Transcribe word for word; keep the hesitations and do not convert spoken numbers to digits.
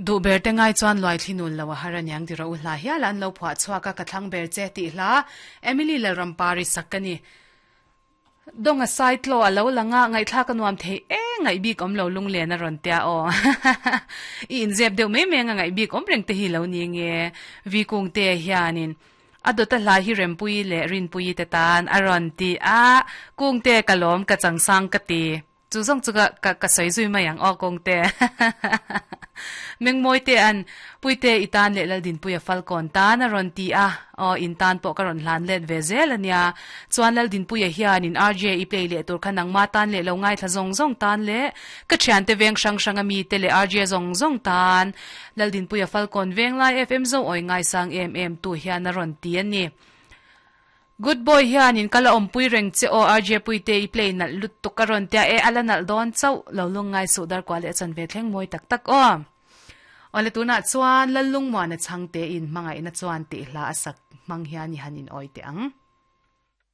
Du ber te ngai chuan luai thli nul lo a har aniang ti ro hla hial an lo phuah chhuak a ka thlang ber che tih hla Emily Lalrampari sak a ni. Dawng a sai tlaw a lo lang a, ngaihthlak a nuam thei e, ngaih bik awm lo lunglen a rawn tia aw. I inzep deuh mai mai anga ngaih bik awm reng te hi lo ni nge Vi Kungte hianin a dawta hla hi Rempuii leh Rinpuii te tan a rawn ti a, Kungte ka lawm ka changsang ka ti. Chu zawng chu ka ka ka sawi zui mai ang aw Kawngte. Mengmawi te an Puite i tan leh Laldinpuia Falkawn tan a rawn ti a, aw in tan pawh ka rawn hlan let ve zel a nia. Chuan Laldinpuia hian in R J i play leh tur kha nangma tan leh lo ngaithla zawng zawng tan leh ka thiante veng hrang hrang a mi te leh R J zawng zawng tan Laldinpuia Falkawn Venglai F M zo awi ngaisang em em tu hian a rawn ti a ni. Good boy hian in kal a awmpui reng che aw R J Puite i play nalh lutuk a rawn tia e a la nalh dawn chauh lo lung ngai suh dar kuah leh a chan ve thleng mawi tak tak aw. Awle tunah chuan Lallungmuana chhangte in hmangaihna chuan tih hla a sak hmang hian i han in awi teh ang.